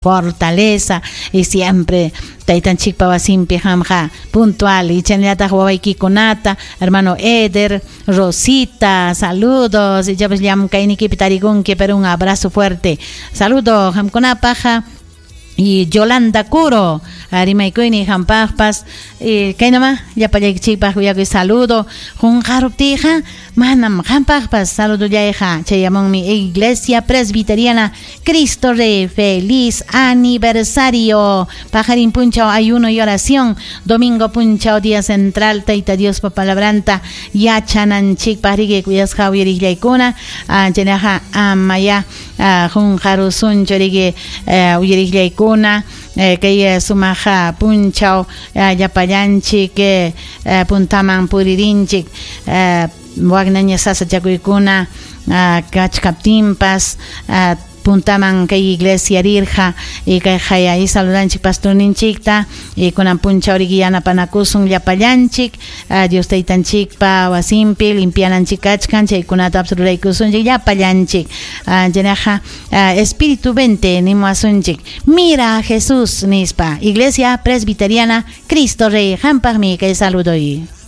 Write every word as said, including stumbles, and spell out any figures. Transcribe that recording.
Fortaleza y siempre taytanchikpa wasinpi qamqa puntual y chaynallataq wawaykikunata, hermano Eder, Rosita, saludos. Y ya pues llamkaynikipi tarikunki, pero un abrazo fuerte, saludo qamkunapaq. Y Yolanda Curo, rimaykuyni qampaqpas. Y kaynama llapallaykichikpaq kuyakuy saludo. Qunqaruptiyqa manam, qampaqpas saludollayqa chayamunmi. Iglesia Presbiteriana Cristo Rey, feliz aniversario. Paqarin punchaw ayuno y oración, domingo punchaw día central, Tayta Diospa palabranta yachananchikpaq, riki, kuyasqa uyariqllaykuna. Chaynaqa amaya qunqarusunchu, riki, uyariqllaykuna, kay sumaq punchaw llapallanchik puntaman puririnchik, waknaña sasachakuykuna kachkaptinpas puntaman kay iglesia rirqa. Y kay y saludanchik pastorninchikta y kunan punchaw riki yanapanakusun llapallanchik Dios taytanchikpa wasinpi limpiananchik kachkan, chaykunata ruraykusunchik llapallanchik. Chaynaqa Espíritu vente nimuwasunchik, mira a Jesús nispa. Iglesia Presbiteriana Cristo Rey, qampaqmi kay saludoy.